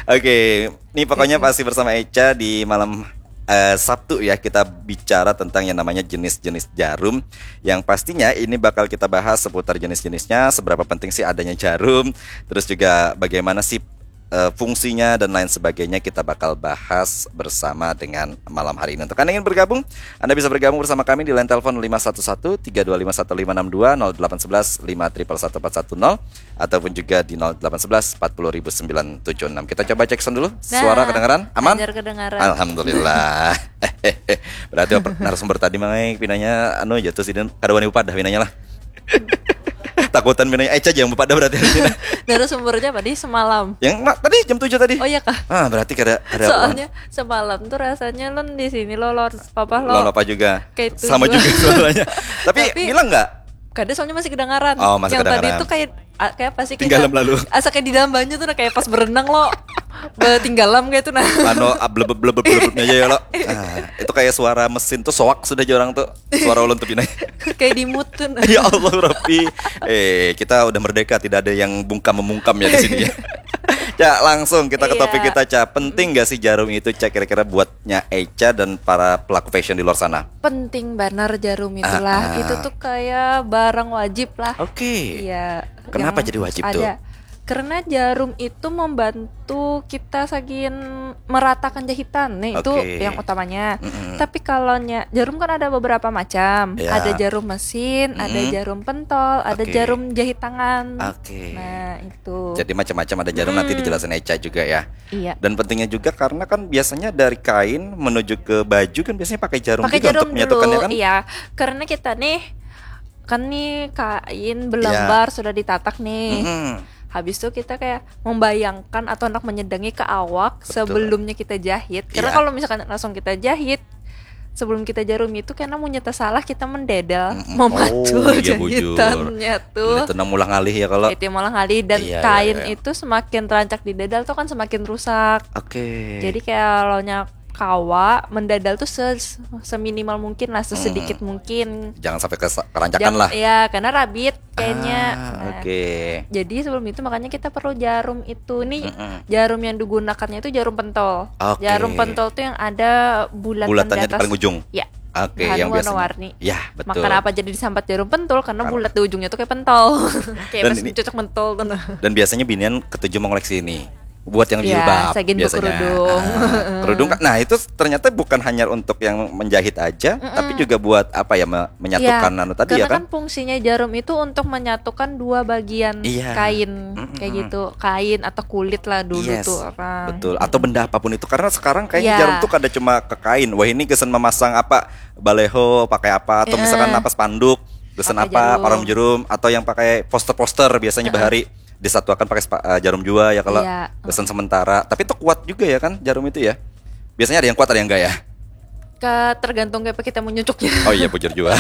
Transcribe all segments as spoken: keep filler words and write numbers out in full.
Oke, ini pokoknya masih bersama Eca di malam eh, Sabtu ya, kita bicara tentang yang namanya jenis-jenis jarum. Yang pastinya ini bakal kita bahas seputar jenis-jenisnya, seberapa penting sih adanya jarum, terus juga bagaimana sih eh, fungsinya dan lain sebagainya, kita bakal bahas bersama dengan malam hari ini. Untuk Anda yang ingin bergabung, Anda bisa bergabung bersama kami di line telepon lima satu satu tiga dua lima satu lima enam dua, nol delapan sebelas lima triple satu empat satu nol, ataupun juga di nol delapan sebelas empat puluh ribu sembilan tujuh enam. Kita coba cek sound dulu. Suara kedengaran? Aman? Hajar kedengaran. Alhamdulillah. Berarti apa, narasumber tadi mangai pinanya anu jatuh sidin kada wani upadah pinanya lah. Takutan pinanya Eca aja yang upadah berarti. Narasumbernya tadi semalam. Yang ma- tadi jam tujuh tadi. Oh iya kah? Ah, berarti kada kada Soalnya semalam tuh rasanya lon di sini lo lon apa lo? Lawan apa juga? Kayak itu Sama juga. Juga suaranya. Tapi, Tapi- bilang nggak? Kada, soalnya masih kedengaran. Oh, masih Yang tadi kedengaran. Tuh kayak ah, kayak apa sih? Tinggalam Kayak- lalu. Asa kayak di dalam banyu tuh nah, kayak pas berenang lo betinggalam kayak itu nah. Anu ah, blebeb blebeb blebebnya aja ya lo. Ah, itu kayak suara mesin tuh soak sudah jorang tuh. Suara ulun tuh pinanya. Kayak di mood tuh nah. Ya Allah Rabbi. Eh, kita udah merdeka, tidak ada yang bungkam memungkam ya di sini ya. Ya, langsung kita ke Iya. Topik kita, Ca. Penting gak sih jarum itu, Ca, kira-kira buatnya Eca dan para pelaku fashion di luar sana? Penting banar jarum itulah. Ah, ah. Itu tuh kayak barang wajib lah. Oke. Iya. Kenapa Yang jadi wajib tuh? Ada. Karena jarum itu membantu kita sagin meratakan jahitan nih, itu Oke. Yang utamanya. Mm-mm. Tapi kalau nya jarum kan ada beberapa macam. Ya. Ada jarum mesin, ada Mm-mm. Jarum pentol, ada Oke. Jarum jahit tangan. Oke. Nah itu. Jadi macam-macam ada jarum, nanti Hmm. Dijelasin Eca juga ya. Iya. Dan pentingnya juga karena kan biasanya dari kain menuju ke baju kan biasanya pakai jarum Pakai juga jarum untuk menyatukannya dulu, kan. Iya. Karena kita nih kan nih kain belambar sudah ditatak nih. Mm-mm. Habis itu kita kayak membayangkan atau hendak menyedangi ke awak Betul. Sebelumnya kita jahit. Karena Iya. Kalau misalkan langsung kita jahit, sebelum kita jarum itu karena munnya tersalah kita mendedel, Mm-mm. memacul Oh, iya, bujur. Jahitannya tuh. Itu nang mulah ngalih ya kalau. Itu yang malah ngalih dan Iya, iya, kain iya. Itu semakin terancak didedel tuh kan semakin rusak. Oke. Jadi kalau nya kawa mendedel tuh se seminimal mungkin lah, sesedikit mungkin. Jangan sampai kes- keranjakan Jangan- lah. Ya, karena rabit kayaknya. Ah, Nah, oke. Jadi sebelum itu makanya kita perlu jarum itu nih. Mm-mm. Jarum yang digunakannya itu jarum pentol. Oke. Jarum pentol tuh yang ada bulatan Bulatannya di di atas. paling ujung. Ya. Oke, Bahan yang biasanya. warna-warni. Ya, betul. Makanya apa jadi disambat jarum pentol karena Karena- bulat di ujungnya tuh kayak pentol. Kayak Dan pas ini- cocok pentol tuh nah. Dan biasanya binian ketujuh mengoleksi ini buat yang Ya, jilbab sagin biasanya. bekerudung. Ah, kerudung kan. Nah, itu ternyata bukan hanya untuk yang menjahit aja, tapi juga buat apa ya, me- menyatukan Iya, anu tadi ya karena kan? Kan fungsinya jarum itu untuk menyatukan dua bagian Iya. kain Mm-mm. Kayak gitu, kain atau kulit lah dulu Yes, tuh orang. Betul. Atau benda apapun itu, karena sekarang kayaknya Iya. Jarum tuh kada cuma ke kain. Wah, ini gasan memasang apa, baleho pakai apa, atau misalkan Heeh. Napas Panduk gasan Pakai apa, jarum. Param Jarum, atau yang pakai poster-poster biasanya bahari disatuakan pakai sepa- eh, jarum jua ya kalau Iya. gasan sementara. Tapi itu kuat juga ya kan jarum itu ya. Biasanya ada yang kuat, ada yang enggak ya. Ke tergantung kayak apa kita mau nyucuknya. Oh iya, bujur juga.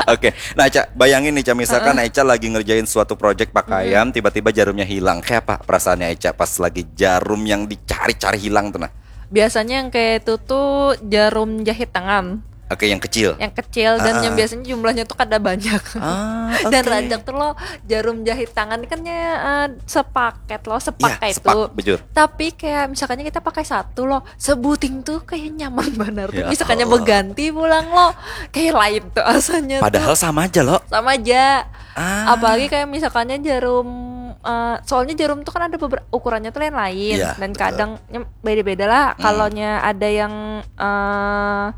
Oke, nah Eca, bayangin nih Ca, misalkan Eca lagi ngerjain suatu project pakaian, tiba-tiba jarumnya hilang, kayak apa perasaannya Eca pas lagi jarum yang dicari-cari hilang tuh nah? Biasanya yang kayak itu tuh jarum jahit tangan. Oke, yang kecil. Yang kecil dan yang biasanya jumlahnya tuh kada banyak. Ah, Dan oke. rancak tuh lo jarum jahit tangan kan ya eh, sepaket lo, Ya, sepaket sepak, itu. Bujur. Tapi kayak misalkannya kita pakai satu lo, sebuting tuh kayak nyaman banget. Ya Misalkannya Allah. Berganti pulang lo, kayak lain tuh rasanya. Padahal Tuh. Sama aja loh. Sama aja. Ah. Apalagi kayak misalkannya jarum, eh, soalnya jarum tuh kan ada beberapa ukurannya tuh lain-lain Iya, dan betul. Kadang ya, beda-beda lah. Kalau nya ada yang eh,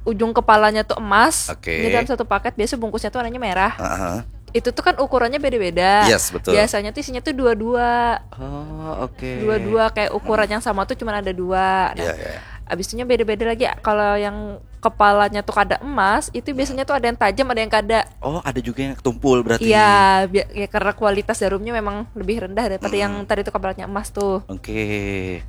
ujung kepalanya tuh emas, Oke. ini dalam satu paket biasa bungkusnya tuh warnanya merah. Heeh. Itu tuh kan ukurannya beda-beda. Yes, betul. Biasanya tuh isinya tuh dua-dua. Oh, oke. Dua-dua kayak ukuran yang sama tuh cuma ada dua. Nah, Iya, iya. Abis itunya beda-beda lagi. Kalau yang kepalanya tuh kada emas, itu biasanya tuh ada yang tajam, ada yang kada. Oh, ada juga yang tumpul berarti. Iya, bi- ya karena kualitas jarumnya memang lebih rendah daripada yang tadi tuh kepalanya emas tuh. Oke.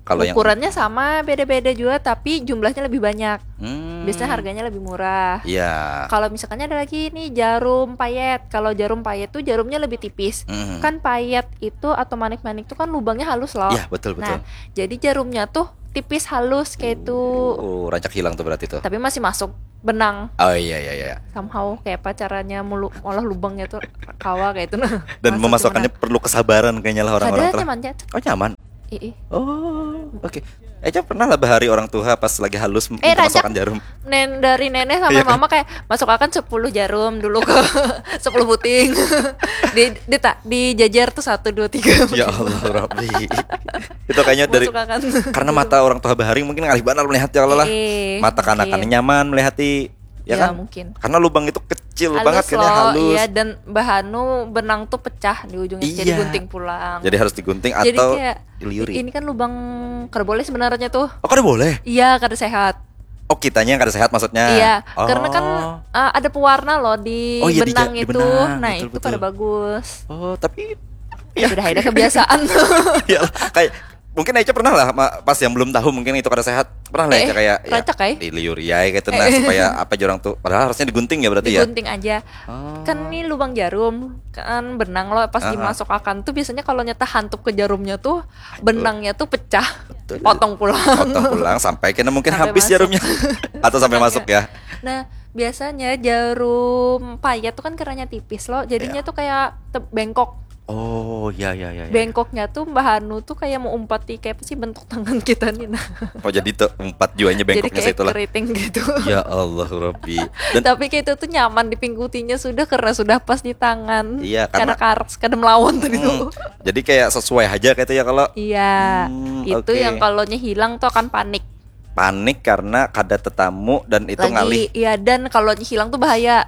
Kalau yang Ukurannya sama, beda-beda juga, tapi jumlahnya lebih banyak. Hmm. Biasanya harganya lebih murah. Iya. Kalau misalkannya ada lagi nih jarum payet. Kalau jarum payet tuh jarumnya lebih tipis. Hmm. Kan payet itu atau manik-manik tuh kan lubangnya halus loh. Iya, betul, betul. Nah, jadi jarumnya tuh tipis halus kayak itu. Oh, rancak hilang tuh berarti tuh. Tapi masih masuk benang. Oh iya, iya, iya. Somehow kayak apa caranya mulu olah lubangnya tuh kawa kayak itu nah. Dan Masuk memasukkannya benang. Perlu kesabaran kayaknya lah orang-orang Padahal tuh. Nyaman aja. Oh, nyaman. Ih, ih. Oh, oke. Eca pernah lah bahari orang tuha pas lagi halus Eh, minta rancak. Masukan jarum. Nen dari nenek sama Iya, kan? Mama kayak, "Masuk akan sepuluh jarum dulu ke sepuluh buting." Di, di, ta- dijajar tuh satu, dua, tiga. Ya Allah Rabbi. Itu kayaknya dari Masuk akan. Karena mata orang tuha bahari mungkin ngalih banar melihat ya kalau lah. Eh, Mata kanakan mungkin. Nyaman melihati, ya Ya, kan? Mungkin. Karena lubang itu kecil Halus banget, kayaknya loh, halus. Iya, dan bahanu benang tuh pecah di ujungnya, jadi Iya. Gunting pulang. Jadi harus digunting Jadi atau kayak, diliuri. Ini kan lubang kada boleh sebenarnya tuh. Oh, kada boleh. Iya, kada sehat. Oh, kitanya yang kada sehat maksudnya. Iya, Oh. Karena kan uh, ada pewarna loh di Oh, iya, di benang ja- di itu. benang, Nah, betul, itu betul. Kada bagus. Oh, tapi Ya, sudah ada kebiasaan. Ya lah, kayak mungkin Eca pernah lah ma- pas yang belum tahu mungkin itu kada sehat. Pernah lah Eh, Eca kayak ya, rancak, ai. Diliuri ya kayak itu, nah, supaya apa jar urang tuh, padahal harusnya digunting ya berarti ya. Digunting aja. Oh. Kan ini lubang jarum, kan benang lo pas Ah, ah. Dimasukakan tuh biasanya kalau nyata hantup ke jarumnya tuh benangnya tuh pecah, Betul. Potong pulang. Potong pulang sampai kena mungkin Sampai habis masuk. Jarumnya atau sampai masuk ya. Nah, biasanya jarum payet tuh kan keranya tipis loh, jadinya Ya. Tuh kayak te- bengkok. Oh, ya, ya, ya, ya. Bengkoknya tuh Mbah Anu tuh kayak mau umpati kayak apa sih bentuk tangan kita nih, nah. Oh, jadi tuh empat juanya Jadi bengkoknya kayak situ lah. Keriting gitu. Ya Allah Rabbi. Dan Tapi kayak itu tuh nyaman dipingkutinya sudah karena sudah pas di tangan. Iya, Karena karena- karts kada melawan tadi Hmm, tuh. Jadi kayak sesuai aja kayak itu ya kalau. Iya, Hmm, itu oke. Yang kalau hilang tuh akan panik. Panik karena kada tetamu dan itu Lagi, ngalih. Iya, dan kalau hilang tuh bahaya.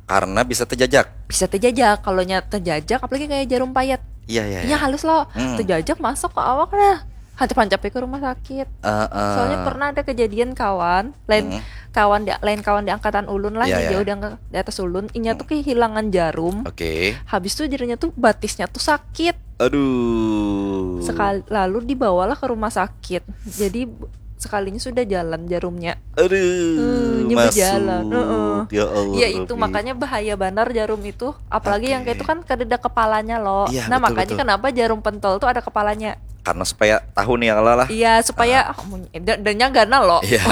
Karena bisa terjajak. Bisa terjajak, kalau nyata terjajak, apalagi kayak jarum payet. Iya, iya, Iya, iya. Halus loh. Hmm. Terjajak masuk ke awak dah. Hancap-hancap ke rumah sakit. Heeh. Soalnya pernah ada kejadian kawan, lain Mm-mm. Kawan di lain kawan di angkatan ulun lah, Iya, yang iya, jauh iya. Di, angka- di atas ulun, inya tuh kehilangan jarum. Oke. Habis tuh jadinya tuh batisnya tuh sakit. Aduh. Sekali lalu dibawalah ke rumah sakit. Jadi sekalinya sudah jalan jarumnya. Aduh, Hmm, inya masuk. Berjalan. Heeh. Ya Allah. Ya itu Rabbi. Makanya bahaya banar jarum itu. Apalagi yang kayak itu kan kada ada kepalanya loh. Iya, Nah, betul, makanya betul. Kenapa jarum pentol tuh ada kepalanya. Karena supaya tahu nih ya kalau lah. Iya, supaya ah, mun- da- danya ganal loh. Iya,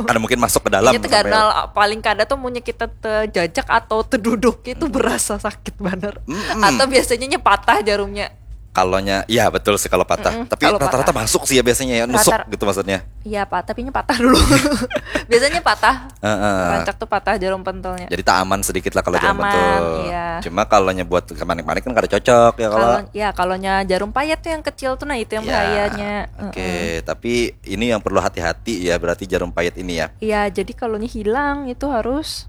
karena mungkin masuk ke dalam. Inya tuh Sampai- ganal, paling kada tuh munnya kita terjajak atau terduduk itu berasa sakit banget. Mm-mm. Atau biasanya nya patah jarumnya. Kalau nya, ya betul sih kalau patah. Mm-mm, Tapi kalau rata-rata patah. Masuk sih ya biasanya ya, nusuk Rata- gitu maksudnya. Iya, Pak, tapi nya patah dulu. Biasanya patah. Heeh. Rancak tuh patah jarum pentolnya. Jadi tak aman sedikit lah kalau Tak jarum aman, pentol. Iya. Cuma kalau nya buat ke manik-manik kan kada cocok ya kalau. Kalau ya kalau nya jarum payet tuh yang kecil tuh, nah itu yang Ya, bahayanya. Oke, Heeh. Tapi ini yang perlu hati-hati ya, berarti jarum payet ini ya. Iya, jadi kalau nya hilang itu harus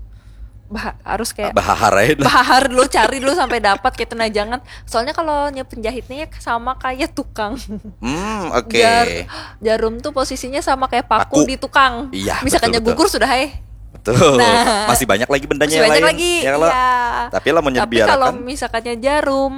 bah- harus kayak Bahahar aja. Bahar dulu, cari dulu sampai dapat gitu, nah jangan. Soalnya kalau nya penjahitnya ya sama kayak tukang. Hmm, oke. Jar- jarum tuh posisinya sama kayak paku, Paku. Di tukang. Iya, Misalkan betul, nya betul. Gugur sudah, eh. Betul. Nah. Masih banyak lagi bendanya Masih yang banyak lain. Lagi. Ya kalau. Iya. Tapi lah mau Tapi dibiarkan. Kalau misalkannya jarum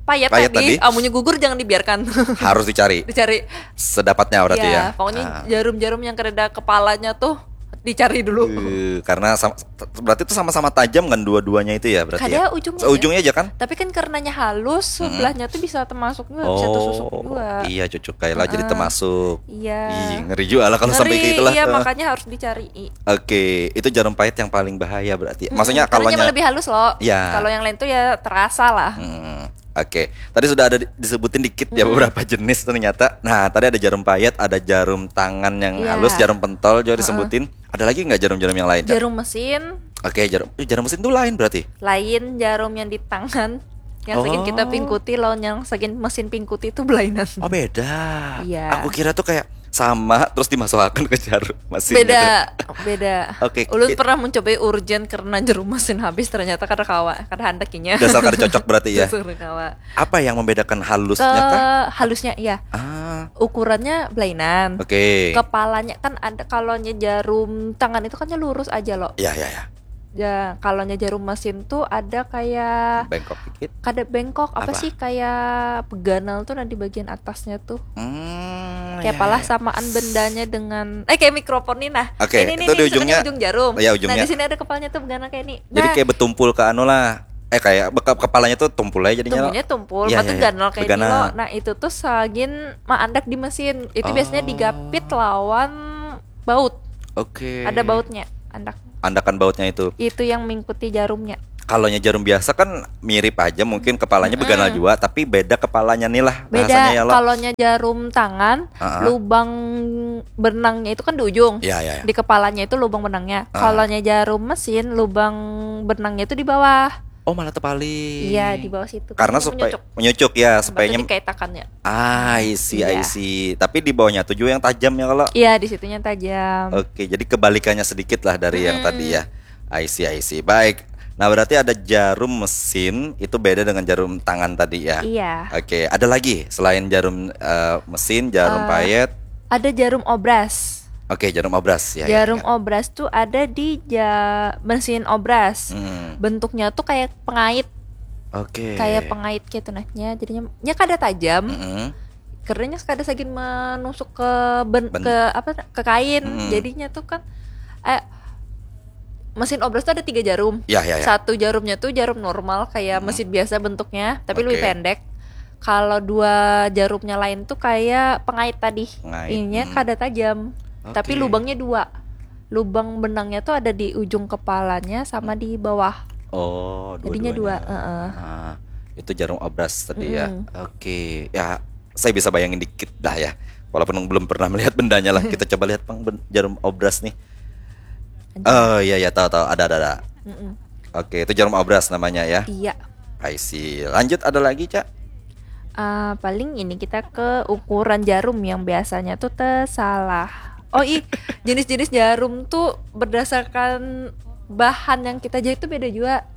payet, Payet tadi, tadi. Amunnya gugur jangan dibiarkan. Harus dicari. Dicari. Sedapatnya berarti ya. Pokoknya Ah. Jarum-jarum yang kada ada kepalanya tuh dicari dulu. Eh, karena sama, berarti itu sama-sama tajam kan dua-duanya itu ya berarti Kada, ya. Ujungnya Ujungnya aja kan. Tapi kan karenanya halus, sebelahnya tuh bisa termasuk juga, bisa tersusuk Oh, juga. Iya, cucuk kayak lah jadi termasuk. Iya. Ih, ngeri juga lah kalau sampai Ngeri, kayak itulah. Iya, Eh. Makanya harus dicari. Oke, itu jarum pahit yang paling bahaya berarti. Maksudnya Karena kalau lebih halus loh. Ya. Kalau yang lain tuh ya terasa lah. Hmm, Oke, tadi sudah ada di- disebutin dikit ya beberapa jenis ternyata. Nah, tadi ada jarum pahit, ada jarum tangan yang Iya. Halus, jarum pentol juga disebutin. Ada lagi nggak jarum-jarum yang lain, Cat? Jarum mesin Oke, jarum eh, jarum mesin itu lain berarti. Lain jarum yang di tangan, yang segini kita Oh. pingkuti lawan yang segini mesin pingkuti itu belainan. Oh, beda. Iya. Aku kira tuh kayak sama terus dimasukkan ke jarum mesin. Beda, beda. Oke, Ulun ki- pernah mencoba urgen karena jarum mesin habis, ternyata kada kawa, kada handak inya. Dasar kada cocok berarti ya. Dasar kada kawa. Apa yang membedakan Ke halusnya kah? Halusnya iya. Ah, Ukurannya belainan. Oke. Kepalanya kan ada, kalau nya jarum tangan itu kan nya lurus aja loh. Ya, ya, ya. Ya, kalau nya jarum mesin tuh ada kayak Bengkok dikit. Kada bengkok, apa, Apa? Sih, kayak peganal tuh nah di bagian atasnya tuh. Hmm, Kayak ya, palah ya. Samaan bendanya dengan eh kayak mikrofon nih nah. Oke, Ini nih, itu nih, di ujungnya. Misalkan ujung jarum. Iya, ujungnya. Nah, di sini ada kepalanya tuh peganal kayak ini. Jadi Nah, kayak bertumpul ke anu lah. Eh, kayak beka- kepalanya tuh tumpul aja jadinya. Tumpulnya tumpul, Iya, batu iya, iya. ganal kayak ini Beganal. loh. Nah, itu tuh sagin maandak di mesin. Itu Oh. Biasanya digapit lawan baut. Oke. Ada bautnya, andak. Andakan bautnya itu. Itu yang mengikuti jarumnya. Kalaunya jarum biasa kan mirip aja, mungkin kepalanya beganal Mm-mm. jua, tapi beda kepalanya nih lah Beda. Bahasanya ya lo. Kalaunya jarum tangan, Ah. lubang benangnya itu kan di ujung. Ya, ya, ya. Di kepalanya itu lubang benangnya. Ah. Kalaunya jarum mesin, lubang benangnya itu di bawah. Oh, malah terbalik. Iya, di bawah situ. Karena Jadi supaya menyucuk. Menyucuk ya, Batu supayanya dikaitakannya. Ah, I see, I Iya. see. Tapi di bawahnya tuh juga yang tajam ya kalau. Iya, di situnya tajam. Oke, jadi kebalikannya sedikit lah dari yang Mm-mm. tadi ya. I see, I see. Baik. Nah, berarti ada jarum mesin itu beda dengan jarum tangan tadi ya. Iya. Oke, ada lagi selain jarum eh, mesin, jarum Eh, payet. Ada jarum obras. Oke, jarum obras ya. ya, Jarum ya. Obras tuh ada di ja mesin obras. Hmm. Bentuknya tuh kayak pengait, Oke. Kayak pengait gitu nah. Ya, jadinya ya kada tajam. Mm-mm. Kerjanya kada sagin menusuk ke ben, Ben- ke apa, ke kain. Mm-mm. Jadinya tuh kan eh mesin obras tuh ada tiga jarum. Ya, ya, ya. Satu jarumnya tuh jarum normal kayak Mm-mm. mesin biasa bentuknya, tapi lebih Oke. Pendek. Kalau dua jarumnya lain tuh kayak pengait tadi. Pengait, Ininya mm. Kada tajam. Oke. Tapi lubangnya dua. Lubang benangnya tuh ada di ujung kepalanya sama di bawah. Oh, Jadinya dua, dua-duanya. Heeh. Ah, itu jarum obras tadi ya. Mm-mm. Oke, ya saya bisa bayangin dikit dah ya. Walaupun belum pernah melihat bendanya lah. Kita coba lihat pang ben- jarum obras nih. Oh iya ya, tahu tahu, ada ada ada. Mm-mm. Oke, itu jarum obras namanya ya. Iya. I see. Lanjut, ada lagi, Cak? Ah, paling ini kita ke ukuran jarum yang biasanya tuh tersalah. Oh ih, jenis-jenis jarum tuh berdasarkan bahan yang kita jahit tuh beda juga.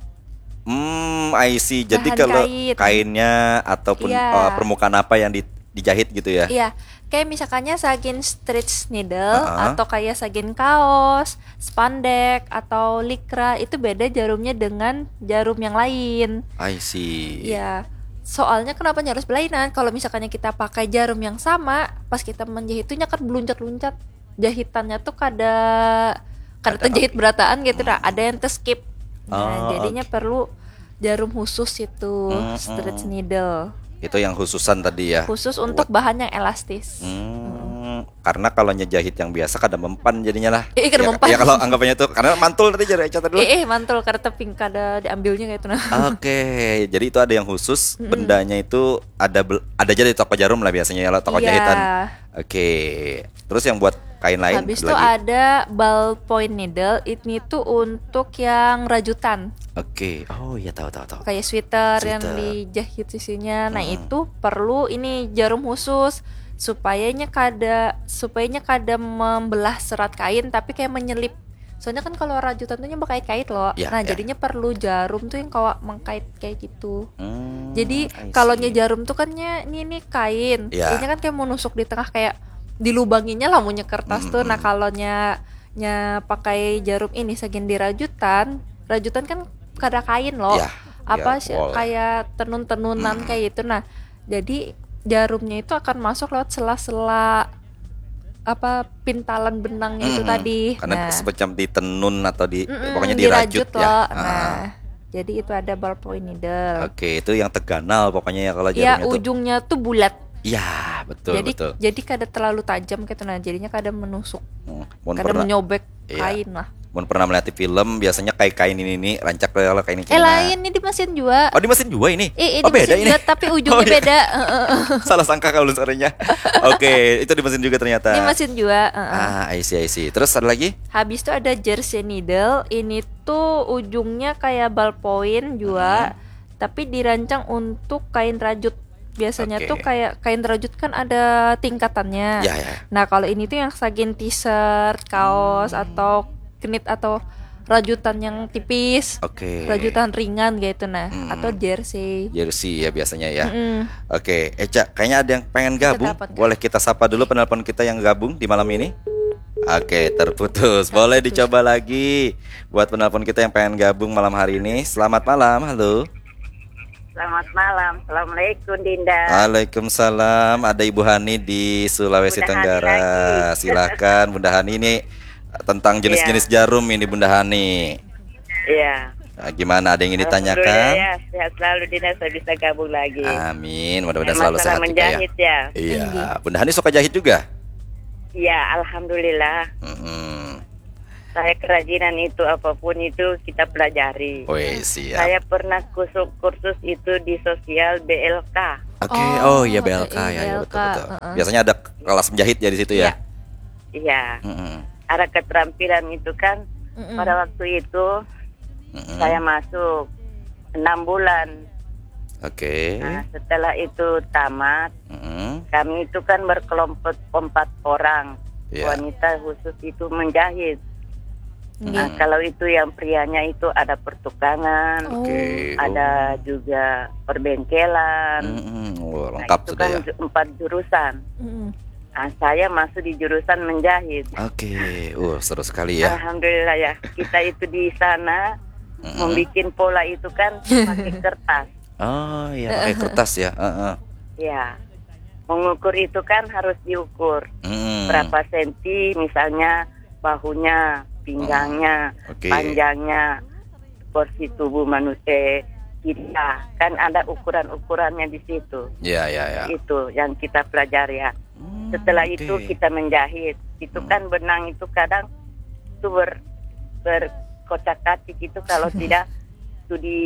Hmm, I see. Jadi Bahan kalau kain. Kainnya ataupun Iya. eh, permukaan apa yang di- dijahit gitu ya? Iya, kayak misalkannya sagin stretch needle Heeh. Atau kayak sagin kaos, spandex atau likra, itu beda jarumnya dengan jarum yang lain. I see. Iya. Soalnya kenapa harus belainan? Kalau misalkannya kita pakai jarum yang sama, pas kita menjahit itu nyakat beluncat-luncat. Jahitannya tuh kada kada Ada terjahit berataan gitu dah. Ada yang terskip. Nah, Oh, jadinya oke. Perlu jarum khusus itu, Mm-mm. Stretch needle. Itu yang khususan tadi ya. Khusus Buat- untuk bahan yang elastis. Hmm, karena kalau nyejahit yang biasa kada mempan jadinya lah. Eh, kada ya, mempan. Ya kalau anggapannya tuh karena mantul tadi jari Eca tadi. Eh, eh mantul, kada teping, kada diambilnya kayak itu nah. Oke, jadi itu ada yang khusus, bendanya itu ada bel- ada aja di toko jarum lah biasanya ya, toko Iya. Jahitan. Oke. Terus yang buat kain lain Habis ada itu lagi? Ada ballpoint needle, ini tuh untuk yang rajutan. Oke. Oh iya, tahu tahu tahu. Kayak sweater yang Sweater. Dijahit sisinya. Nah, Hmm. Itu perlu ini jarum khusus supayanya kada supayanya kada membelah serat kain, tapi kayak menyelip. Soalnya kan kalau rajutan tuh bakait-kait loh. Ya, Nah, ya. Jadinya perlu jarum tuh yang kawa mengkait kayak gitu. Hmm, Jadi I kalau see. Jarum tuh kan nya ini nih kain. Ya. Ini kan kayak mau nusuk di tengah, kayak dilubanginya lah, munnya kertas tuh. Nah, Mm-mm. Kalau nya nya pakai jarum ini, segin di rajutan, rajutan kan kada kain loh. Ya, Apa ya, sih, wall. Kayak tenun-tenunan Mm-mm. Kayak gitu. Nah, jadi jarumnya itu akan masuk lewat sela-sela apa, pintalan benangnya itu Mm-mm. Tadi. Karena Nah. Semacam ditenun atau di Mm-mm, pokoknya dirajut dirajut ya. Loh. Ah. Nah, jadi itu ada ballpoint needle. Oke, itu yang terganal pokoknya ya kalau Ya, jarumnya tuh. Ujungnya tuh bulat. Ya, betul jadi betul. Jadi kada terlalu tajam gitu, nah, jadinya kada menusuk. Hmm, mun Kada pernah menyobek Iya. Kain lah. Mun pernah melihat film, biasanya kayak kain ini nih, rancak kayak kain ini. Eh, lain, ini di mesin juga. Oh, di mesin juga ini. Eh, eh, Oh, di beda mesin ini. Juga, tapi ujungnya Oh, iya. Beda. Heeh. Salah sangka kalau sebenarnya. Oke, itu di mesin juga ternyata. Di mesin juga. Heeh. Ah, I see, I see. Terus ada lagi? Habis itu ada jersey needle. Ini tuh ujungnya kayak ballpoint juga, hmm. Tapi dirancang untuk kain rajut. Biasanya okay. Tuh kayak kain rajut kan ada tingkatannya. Ya, ya. Nah, kalau ini tuh yang sagin t-shirt, kaos, hmm. Atau knit atau rajutan yang tipis, okay. Rajutan ringan gitu nah, hmm. Atau jersey. Jersey ya biasanya ya. Hmm. Oke, okay. Eca, kayaknya ada yang pengen gabung. Kita boleh kita sapa dulu penelpon kita yang gabung di malam ini? Oke, okay, terputus. Boleh dicoba lagi buat penelpon kita yang pengen gabung malam hari ini. Selamat malam, halo. Selamat malam. Assalamualaikum, Dinda. Waalaikumsalam. Ada Ibu Hani di Sulawesi Bunda Tenggara. Silahkan, Bunda Hani, ini tentang jenis-jenis ya. Jarum ini, Bunda Hani. Iya. Nah, gimana, ada yang ingin ditanyakan? Ya, sehat selalu, Dinda, saya bisa gabung lagi. Amin. Mudah-mudahan selalu sehat juga ya. Ya. Iya. Bunda Hani suka jahit juga? Iya, alhamdulillah. Mm-mm. Saya kerajinan itu, apapun itu kita pelajari. Weh, siap. Saya pernah kusuk kursus itu di sosial B L K. Oke, oh, oh iya, B L K, ya, ya, betul, betul. Uh-uh. Biasanya ada kelas menjahit ya di situ ya? Iya. Mm-mm. Ada keterampilan itu kan. Mm-mm. Pada waktu itu mm-mm. Saya masuk enam bulan. Oke. Nah, setelah itu tamat, mm-hmm. Kami itu kan berkelompok empat orang. Yeah. Wanita khusus itu menjahit. Nah, hmm. Kalau itu yang prianya itu ada pertukangan, okay. Ada oh. Juga perbengkelan. Hmm, oh, lengkap nah, itu sudah kan ya. Empat jurusan. Hmm. Nah, saya masuk di jurusan menjahit. Oke, okay. Uh, seru sekali ya. Alhamdulillah ya. Kita itu di sana hmm. Membuat pola itu kan pakai kertas. Oh ya, pakai kertas ya. Uh-uh. Ya, mengukur itu kan harus diukur hmm. Berapa senti, misalnya bahunya, pinggangnya, hmm. Okay. Panjangnya, porsi tubuh manusia kita kan ada ukuran-ukurannya di situ. Ya, ya, ya. Itu yang kita pelajari ya. Hmm, setelah okay. Itu kita menjahit. Itu hmm. Kan benang itu kadang itu ber berkocak-kacik itu kalau tidak itu di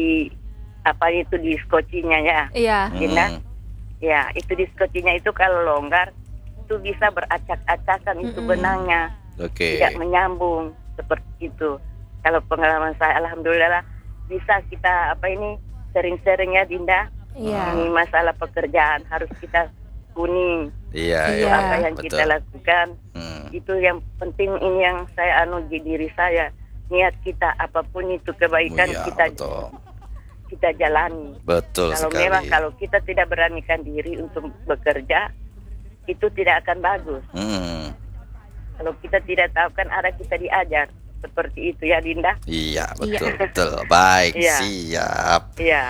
apa itu di skocinya ya. Iya. Dina. Hmm. Ya, itu di skocinya itu kalau longgar itu bisa beracak-acakan itu hmm. Benangnya. Oke. Okay. Tidak menyambung seperti itu. Kalau pengalaman saya, alhamdulillah bisa kita apa ini sering-sering ya, Dinda. Iya. Ini masalah pekerjaan harus kita kuning. Iya, iya. Apa yang betul. Kita lakukan hmm. Itu yang penting, ini yang saya anu di diri saya. Niat kita apapun itu kebaikan oh, iya, kita betul. Kita jalani. Betul kalau sekali. Memang kalau kita tidak beranikan diri untuk bekerja, itu tidak akan bagus. Hmm. Kalau kita tidak tahu kan arah kita diajar seperti itu ya, Dinda. Iya, betul, iya. Betul. Baik, iya. Siap. Iya.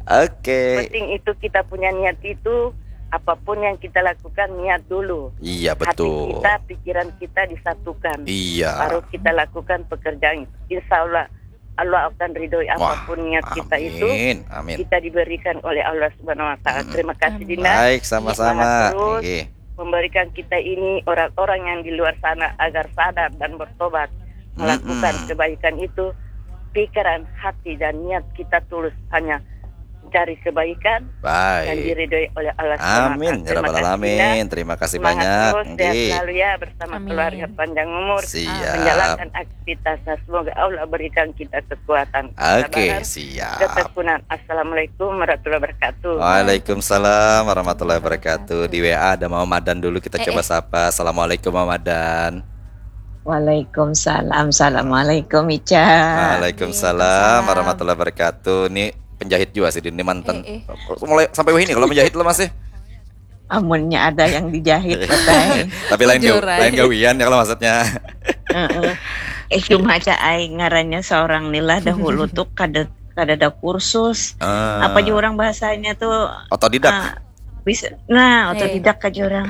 Oke. Okay. Penting itu kita punya niat itu, apapun yang kita lakukan niat dulu. Iya, betul. Hati kita, pikiran kita disatukan. Iya. Baru kita lakukan pekerjaan. Insya Allah Allah akan ridhoi apapun niat kita itu. Amin. Amin. Kita diberikan oleh Allah Subhanahu wa taala. Hmm. Terima kasih Dinda. Baik, sama-sama. Terus okay. Memberikan kita ini orang-orang yang di luar sana agar sadar dan bertobat melakukan hmm. Kebaikan itu. Pikiran, hati dan niat kita tulus hanya cari kebaikan Baik. Dan diridhoi oleh Allah Subhanahu wa taala. Amin ya rabbal alamin. Terima kasih banyak. Semangat terus, sehat selalu ya bersama keluarga, panjang umur. Siap. Menjalankan aktivitasnya. Semoga Allah berikan kita kekuatan, kesabaran, siap. Ketekunan. Assalamualaikum warahmatullahi wabarakatuh. Waalaikumsalam warahmatullahi wabarakatuh. Di W A ada Mama Madan dulu, kita eh, coba eh. Sapa. Assalamualaikum Mama Madan. Waalaikumsalam. Assalamualaikum Ica. Waalaikumsalam warahmatullahi wabarakatuh. Ini penjahit juga sih, ini mantan. Eh, eh. Mulai sampai wahini kalau menjahit lo masih? Amunnya ada yang dijahit, betai. Tapi lain gaw, lain gawian ya kalau maksudnya. Eh, cuma aja ai ngarannya seorang nilah dahulu tuh kada kada ada kursus. Ah. Apa juga orang bahasanya tuh? Otodidak. Ah, bisa, nah, otodidak aja orang.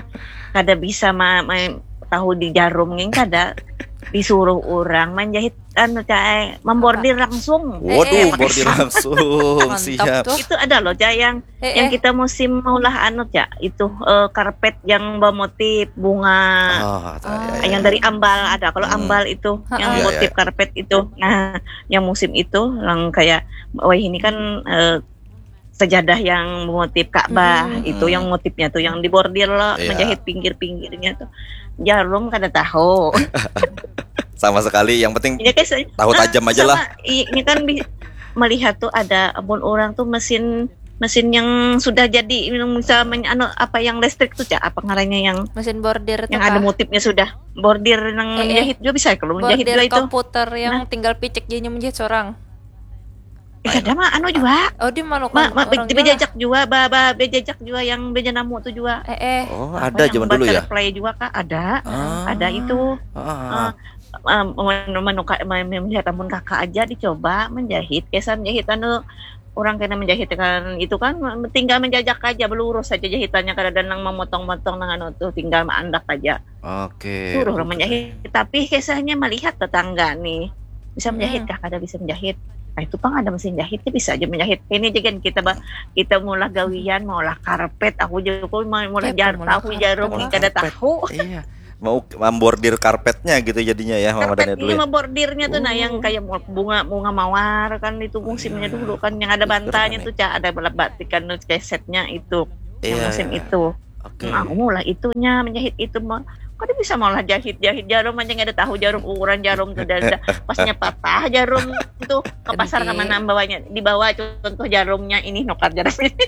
Kada bisa ma, ma, tahu di jarum nih kada disuruh orang menjahit anu cai membordir langsung. Waduh, eh, eh, bordir langsung. Siap. Tuh. Itu ada loh cai yang eh, yang eh. Kita musim maulah anu cak itu eh, karpet yang bermotif bunga. Oh, oh. Ya, yang ya. Dari ambal ada. Kalau hmm. Ambal itu yang ya, motif ya. Karpet itu. Nah, yang musim itu yang kayak wah ini kan eh, sejadah yang motif Ka'bah hmm. Itu yang motifnya tuh yang dibordir loh, iya. Menjahit pinggir-pinggirnya tuh jarum kada tahu. Sama sekali, yang penting ya, guys, tahu nah, tajam aja sama, lah. Ini kan melihat tuh ada abon orang tuh mesin mesin yang sudah jadi yang bisa men, anu, apa yang listrik tuh cak apa ngarannya yang mesin bordir yang ada motifnya sudah bordir yang eh, eh. Menjahit juga bisa kalau menjahit juga itu komputer yang nah. Tinggal picik jadinya menjahit seorang. Eh, ada mah anu juga. Oh, di mana ma, ma, orang bejajak juga, ba, ba, bejajak juga yang beja namu tuh juga. Eh, eh. Oh, ada zaman dulu ya. Play juga kak, ada. Ah. Ada itu. Ah. Uh, menu, menu, melihat amun kakak aja dicoba menjahit, kesan menjahit anu orang kena menjahit kan itu kan tinggal menjajak aja belurus aja jahitannya kada ada nang memotong-motong nang anu tuh tinggal maandak aja. Oke. Suruh orang menjahit, tapi kisahnya melihat tetangga nih bisa menjahit kah? Kada bisa menjahit. Nah, itu pang ada mesin jahitnya bisa aja menjahit. Ini aja kan kita bah, kita maulah gawian, maulah karpet, aku juga mau maulah jar tahu jarum nih kada tahu. Iya. mau membordir karpetnya gitu jadinya ya, Mama Dani dulu ya. Membordirnya tuh, nah, yang kayak bunga bunga mawar kan, itu musimnya dulu kan, yang ada bantanya tuh, Cak, ada batikan tuh, kesetnya itu, yang musim itu. Oke. Nah, aku mulai itunya, menjahit itu mah. Kada bisa malah jahit-jahit jarum aja, nggak ada tahu jarum, ukuran jarum tuh, dah, dah. Pasnya patah jarum tuh, ke pasar kemana bawanya, dibawa contoh jarumnya ini, nukar jarum ini.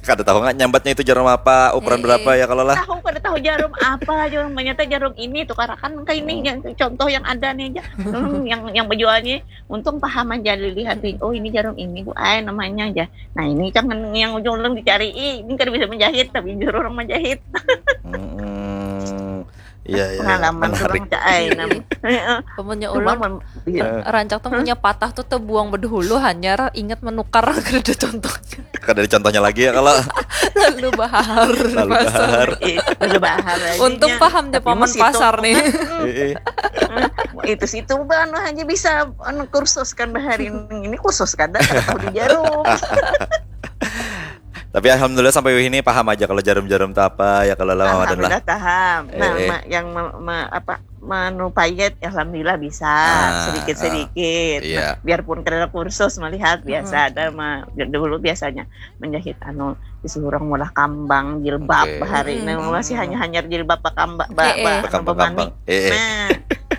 Kada tahu nggak nyambatnya itu jarum apa, ukuran berapa ya kalau lah. Tahu, kada tahu jarum apa, jarum, ternyata jarum ini, tukarakan ke ini, contoh yang ada nih aja. Hmm, yang yang menjualnya, untung paham aja, dilihat, oh, ini jarum ini, Bu, ay, namanya aja. Nah, ini kan yang ujung-ujung dicari, ini kada bisa menjahit, tapi juru orang menjahit. Iya, iya. Pengalaman orang cak ai nam. Pamunnya ulun, rancak tuh punya patah tuh tebuang bedahulu, hanyar ingat menukar, kada contohnya. Kada ada contohnya lagi ya kalau. Lalu bahar. Lalu bahar. Lalu bahar. Untung paham aja paman pasar nih. Itu situ anu hanya bisa anu kursus kan bahari ini, khusus kada tahu di jarum. Tapi alhamdulillah sampai wih ini paham aja kalau jarum-jarum itu apa ya kalau lama dan lah. Alhamdulillah paham. Nah, eh, eh. Ma, yang me, me, apa menupayet alhamdulillah bisa ah, sedikit sedikit. Ah, iya. Nah, biarpun kada kursus melihat biasa hmm. Ada ma, dulu biasanya menjahit anu disuruh orang mulah kambang jilbab okay. Bahari hmm. Nah, masih hanya hanyar jilbab pakambang ba, ba, eh, eh. Nah,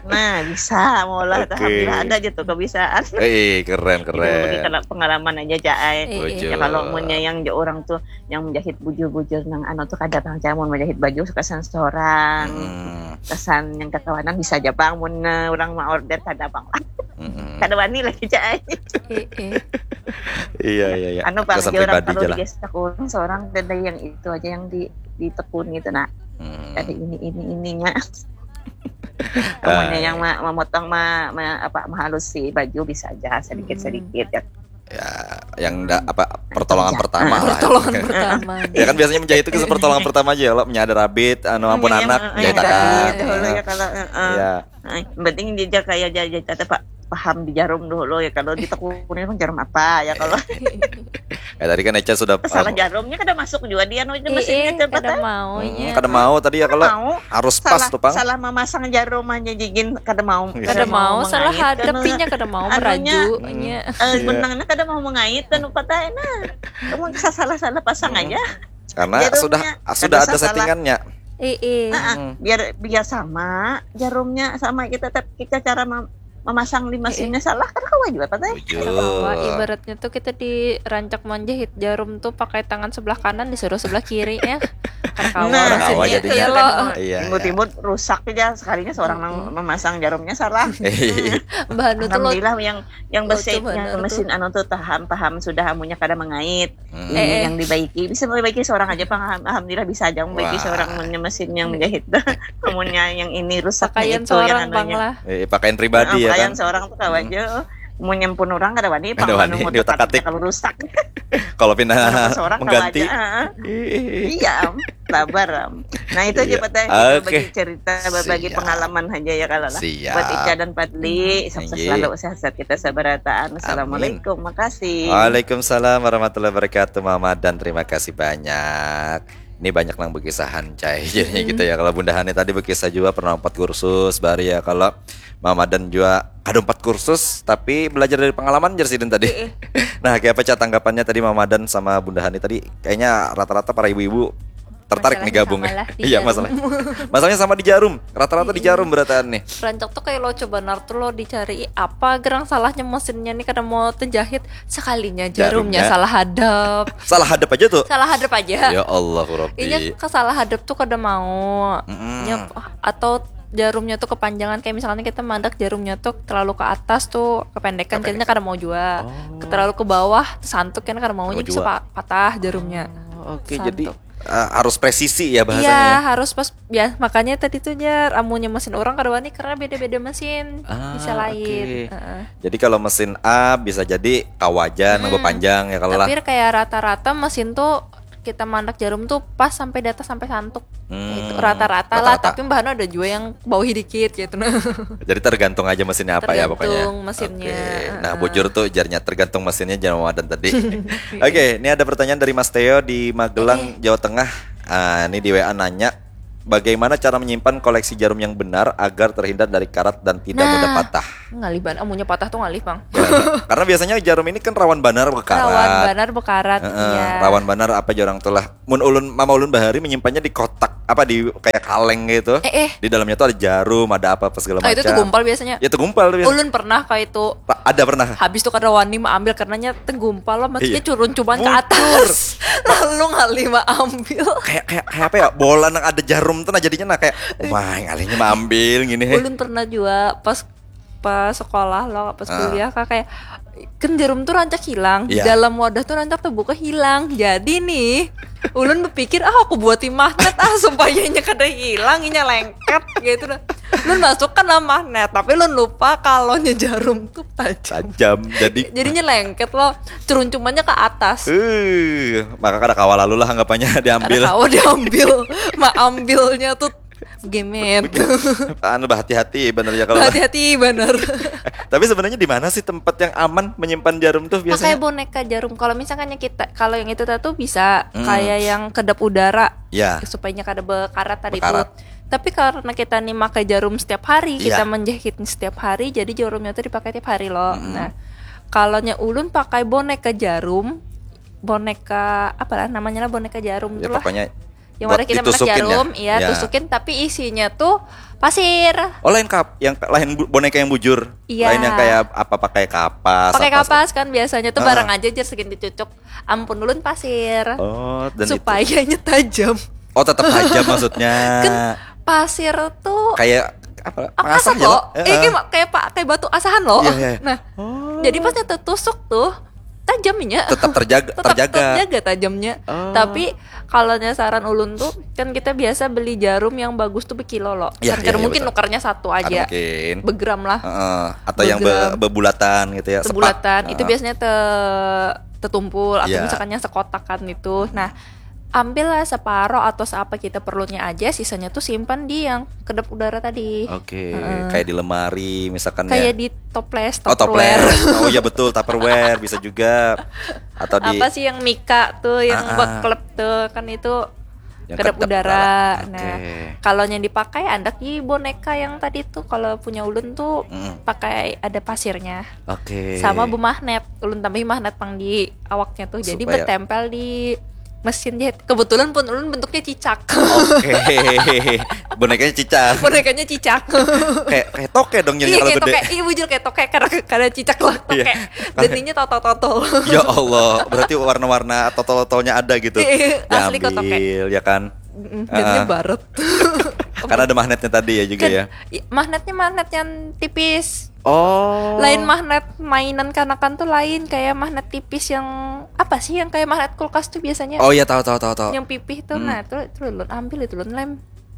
nah bisa mulah okay. Alhamdulillah ada aja tuh kebisaan. Eh, keren keren. Jadi, pengalaman aja cak ai. Ya kalau munnya yang orang tuh yang menjahit bujur-bujur nang anu tuh kada pang cak mun menjahit baju kesan seorang hmm. Kesan yang kakawanan bisa aja pang mun orang mau order kada pang lah hmm. Kada wani lagi cak ai. Iya iya iya. Anu pang aja orang kalau biasa kurang seorang ada yang itu aja yang di ditekuni itu nah hmm. Ada ini ini ininya. Kemudian yang memotong ma, ma, apa menghalusi baju bisa aja sedikit-sedikit ya. Ya, yang da, apa pertolongan pertama lah. Pertolongan pertama. Ya kan biasanya menjahit itu pertolongan pertama aja ya, lo punya ada rabit, anu ampun anak, jahitakan. Dahulu ya kalau ya. Penting dia kayak jahit kata Pak paham di jarum dulu ya kalau ditekuni kan jarum apa ya kalau. Ya tadi kan Eca sudah salah jarumnya kada masuk juga dia nu mesin itu kada mau ya. Kada mau tadi ya kalau harus pas tuh pang. Salah memasang jarum aja jigin kada mau. Kada mau salah hadap inya kada mau meraju. Benangnya kada mau mengait dan upatnya nah. Kamu salah-salah pasang aja. Karena sudah sudah ada settingannya. Iya. Biar biar sama jarumnya sama kita tapi kita cara memasang di mesinnya salah kan kawa juga patah. Ibaratnya tuh kita di rancak menjahit jarum tuh pakai tangan sebelah kanan disuruh sebelah kiri ya. Kawa nah, kawa jadinya. Iya. Timbul-timbul rusak aja sekalinya seorang memasang jarumnya salah. Bahan tuh alhamdulillah yang yang besi yang mesin anu tuh tahan paham sudah amunya kada mengait. Hmm. Ini eh, yang dibaiki bisa dibaiki seorang aja pang alhamdulillah bisa aja membaiki seorang punya mesin yang menjahit punya yang ini rusak pakaian itu, seorang yang bang lah eh, pakaian pribadi nah, ya pakaian kan? Seorang tuh kawan hmm. Aja punya pun orang kada wani pang kada wani diutak atik kalau rusak kalau pindah seorang mengganti iya sabar nah itu aja iya. Patah okay. Bagi cerita bagi pengalaman aja ya kalau lah buat Ica dan Padli sukses selalu sehat-sehat kita sabarataan assalamualaikum makasih. Waalaikumsalam warahmatullahi wabarakatuh Mama dan terima kasih banyak. Ini banyak nang bekisahan cai jadinya gitu ya kalau Bunda Hani tadi bekisah juga pernah empat kursus bari ya kalau Mama dan juga kada empat kursus tapi belajar dari pengalaman jar sidin tadi. Nah kayak apa cak tanggapannya tadi Mama dan sama Bunda Hani tadi kayaknya rata-rata para ibu-ibu tertarik nih gabung. Iya masalah. Masalahnya sama di jarum. Rata-rata di jarum berataan nih. Rancak tuh kayak lo coba nar tuh lo dicari apa gerang salahnya mesinnya nih kada mau terjahit sekalinya jarumnya, jarumnya. Salah hadap. Salah hadap aja tuh. Salah hadap aja. Ya Allah Rabbi. Ini kesalah hadap tuh kada mau. Mm -mm. Atau jarumnya tuh kepanjangan kayak misalnya kita mandak jarumnya tuh terlalu ke atas tuh kependekan jadinya kada mau juga. Oh. Terlalu ke bawah santuk kan kada mau, mau juga. Bisa patah jarumnya. Oh, oke okay, jadi uh, harus presisi ya bahasanya. Iya, harus pas ya makanya tadi tuh jar amunnya mesin orang kada wani karena beda-beda mesin ah, bisa lain. Okay. Uh -uh. Jadi kalau mesin A bisa jadi kawajan hmm. Lebih panjang ya kalau lah. Tapi kayak rata-rata mesin tuh kita mandak jarum tuh pas sampai data sampai santuk. Hmm, gitu. Rata-rata lah, tapi mbahno ada juga yang bawah dikit gitu nah. Jadi tergantung aja mesinnya apa tergantung ya pokoknya. Mesinnya. Okay. Nah, bujur tuh jarnya tergantung mesinnya jangan wadan tadi. Oke, okay, ini ada pertanyaan dari Mas Teo di Magelang, eh. Jawa Tengah. Uh, ini di W A nanya Bagaimana cara menyimpan koleksi jarum yang benar agar terhindar dari karat dan tidak mudah Nah. patah? Ngalih banget, amunnya patah tuh ngalih, Bang. Karena biasanya jarum ini kan rawan banar bekarat. Rawan banar bekarat, Heeh, iya. Rawan banar apa jarang tuh lah. Mun ulun, mama ulun bahari menyimpannya di kotak apa, di kayak kaleng gitu. Eh, eh. Di dalamnya tuh ada jarum, ada apa apa segala Oh, macam. itu tuh gumpal biasanya. Ya tuh gumpal biasanya. Ulun pernah kayak itu. Pa- ada pernah. Habis tuh kada wani maambil karenanya tegumpal lah, maksudnya Iya. curuncuman ke Buncur. atas. Lalu ngalih maambil. Kayak kayak kayak apa ya? Bola nang ada jarum tuh nah jadinya nah kayak, "Wah, ngalihnya maambil gini he." Ulun pernah juga pas pas sekolah loh, pas Ah. kuliah, Kak, kayak kan jarum tuh rancak hilang. Iya. Dalam wadah tuh rancak terbuka hilang. Jadi nih, ulun berpikir, "Ah, aku buati magnet ah supaya inya kada hilang, inya lengket," gitu nah. Ulun masukkan lah magnet, tapi ulun lupa kalau nya jarum tuh tajam. Tajam. Jadi Jadinya lengket loh, curuncumannya ke atas. Eh, maka kada kawa lalu lah anggapannya diambil. Kada kawa diambil. Maambilnya tuh gemet. Anu, berhati-hati bener ya kalau. Hati-hati bener. Tapi sebenarnya di mana sih tempat yang aman menyimpan jarum tuh Pakai biasanya? Boneka jarum. Kalau misalkannya kita, kalau yang itu tuh bisa Hmm. kayak yang kedap udara. Ya. Supaya kada bekarat tadi Bekarat. Tuh. Tapi karena kita nih pakai jarum setiap hari, Iya. Kita menjahit setiap hari, jadi jarumnya tuh dipakai tiap hari loh. Nah, kalau nya ulun pakai boneka jarum, boneka apa lah namanya lah, boneka jarum Ya, tuh lah. Pokoknya Yang buat ada kita masak ditusukin ya? Jarum, iya, Ya. Tusukin, tapi isinya tuh pasir. Oh, lain kap, yang lain bu- boneka yang bujur. Iya. Lain yang kayak apa, pakai kapas. Pakai apa kapas kan biasanya tuh Ah. Barang aja jer segini cucuk. Ampun ulun pasir. Oh, dan itu. Supayanya tajam. Oh, tetap tajam maksudnya. Kan pasir tuh Kayak apa? Apa Pengasah sih ya, kok? Lo? Eh, kayak, kayak pa- kayak batu asahan loh. Iya, iya. Nah, jadi pas tusuk tuh tajamnya. Tetap terjaga, Tetap terjaga. terjaga tajamnya. Oh. Tapi kalau nyasaran ulun tuh kan kita biasa beli jarum yang bagus tuh berkilo loh. Iya, Kan iya, iya, mungkin betul. Nukarnya satu Kada aja. Mungkin. Begram lah. Heeh. Atau yang be- Begram. Bebulatan gitu ya. Sepak. Sebulatan itu Heeh. Biasanya te- tetumpul atau Iya. Misalkan yang sekotakan itu. Nah, ambillah separoh atau seapa kita perlunya aja, sisanya tuh simpan di yang kedap udara tadi. Oke, kayak di lemari misalkan Kayak ya. Di toples, Oh, Tupperware. Toples. Oh iya betul, Tupperware bisa juga. Atau di Apa sih yang mika tuh, yang Ah, ah. Beklep tuh kan itu Yang kedap kedap udara. udara. Nah, Oke. Kalau yang dipakai ada ki boneka yang tadi tuh kalau punya ulun tuh Mm. Pakai ada pasirnya. Oke. Sama bemagnet. Ulun tambahi magnet pang di awaknya tuh. Jadi Supaya- bertempel di mesin jahit. Kebetulan pun ulun bentuknya cicak. Oke. Bonekanya cicak. Bonekanya cicak. Kayak kayak toke dong jadinya Iya kalau kayak gede. Toke, iya bujur kayak toke karena karena cicak lah toke. Iya. Jadinya totol-totol. Ya Allah, berarti warna-warna totol-totolnya ada gitu. Iya, asli kok toke. Diambil ya kan. Mm, Jadinya Ah. baret. Karena ada magnetnya tadi ya juga Kan, ya. i- Magnetnya magnet yang tipis. Oh. Lain magnet mainan kanakan tuh lain kayak magnet tipis yang apa sih yang kayak magnet kulkas tuh biasanya. Oh iya, tahu tahu tahu tahu. Yang pipih tuh Hmm. Nah, tuh tuh ulun ambil itu ulun lem.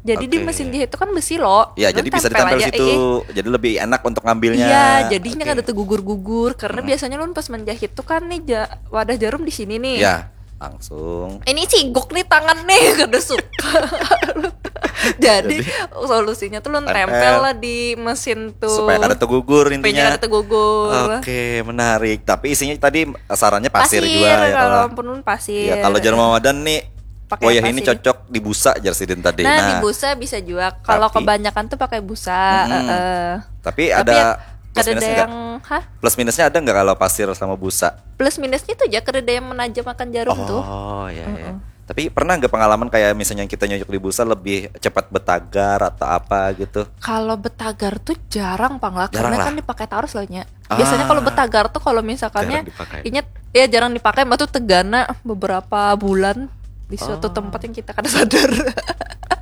Jadi di Oke. Mesin jahit itu kan besi lo. Ya, Ulun jadi bisa tempel ditempel aja, situ. eh, eh. Jadi lebih enak untuk ngambilnya. Iya, Oke. Jadinya kada tegugur-gugur karena biasanya ulun pas menjahit tuh kan nih ja- wadah jarum di sini nih. Ya, langsung. Ini siguk nih tangan nih kada suka. Jadi, solusinya tuh ulun Tempel. Tempel lah di mesin tuh. Supaya kada tegugur Supaya intinya. Kada tegugur. Oke, menarik. Tapi isinya tadi sarannya pasir, Pasir, juga ya kalau kalau. ampun ulun pasir. Ya, kalau jarum Ramadan nih, Pakai wayah apa ini sih? Cocok di busa jar sidin tadi. Nah, di busa bisa juga. Kalau Tapi- kebanyakan tuh pakai busa. Mm-mm. Heeh. Tapi Tapi ada ya, plus kada minus ada enggak? Yang hah? Plus minusnya ada nggak kalau pasir sama busa? Plus minusnya tuh aja kada ada yang menajam akan jarum tuh. Oh, ya ya. Tapi pernah nggak pengalaman kayak misalnya kita nyocok di busa lebih cepat betagar atau apa gitu? Kalau betagar tuh jarang pang lah Jarang karena lah. Kan dipakai terus lah nya. Ah. Biasanya kalau betagar tuh kalau misalkannya Jarang dipakai. Ingat ya jarang dipakai mah tuh tegana beberapa bulan di suatu Oh. Tempat yang kita kada sadar.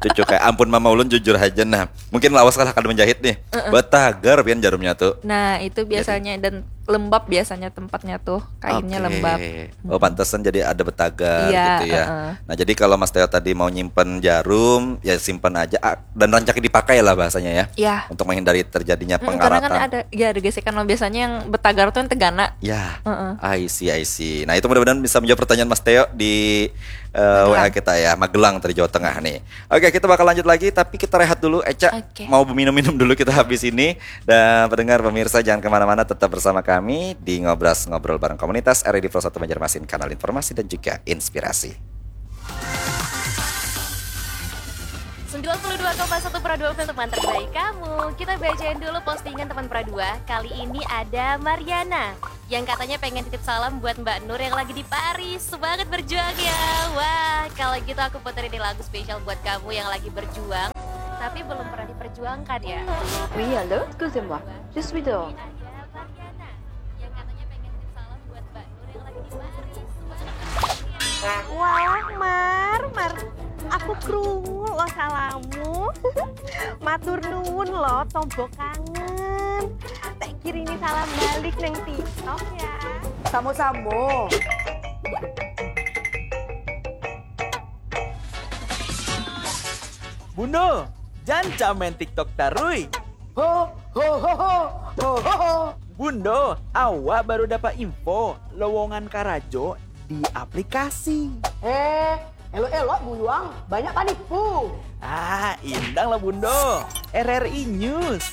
Cucu kayak ampun mama ulun jujur aja nah. Mungkin lawas kalah kada menjahit nih. Betagar pian jarumnya tuh. Nah, itu biasanya dan lembab biasanya tempatnya tuh, kainnya Oke. Lembab. Oh, pantesan jadi ada betagar Iya, gitu ya. Heeh. Nah, jadi kalau Mas Teo tadi mau nyimpen jarum, ya simpan aja ah, dan rancak dipakai lah bahasanya ya. Iya. Untuk menghindari terjadinya Mm, karena kan pengaratan. Ada ya ada gesekan loh biasanya yang betagar tuh yang tegana. Ya, Heeh. I see, I see. Nah, itu mudah-mudahan bisa menjawab pertanyaan Mas Teo di uh, W A kita ya, Magelang dari Jawa Tengah nih. Oke, kita bakal lanjut lagi, tapi kita rehat dulu. Eca, Oke. Mau minum-minum dulu kita habis ini. Dan pendengar pemirsa, jangan kemana-mana, tetap bersama kami di Ngobras Ngobrol Bareng Komunitas R I D Pro satu Banjarmasin, kanal informasi dan juga inspirasi. dua puluh dua koma satu Pro dua Film, teman terbaik kamu. Kita bacain dulu postingan teman Pro dua. Kali ini ada Mariana yang katanya pengen titip salam buat Mbak Nur yang lagi di Paris. Semangat berjuang ya. Wah, kalau gitu aku puterin nih lagu spesial buat kamu yang lagi berjuang tapi belum pernah diperjuangkan ya. Oui, allô, excusez-moi, je suis dehors. Ada Mariana yang katanya pengen titip salam buat Mbak Nur yang lagi di Paris. Wah, Mar, Mar, aku krungu lo salammu. Matur nuwun lo, tombo kangen. Tak kirimi salam balik neng TikTok ya. Samo-samo. Bundo, janca main TikTok tarui. Ho ho ho ho ho ho ho. Bundo, awak baru dapat info lowongan karajo di aplikasi. Eh, elok-elok buyuang, banyak panipu. Ah, indang lah Bundo. R R I News.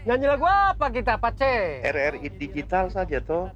Nyanyi lagu apa kita, Pace? R R I digital saja toh.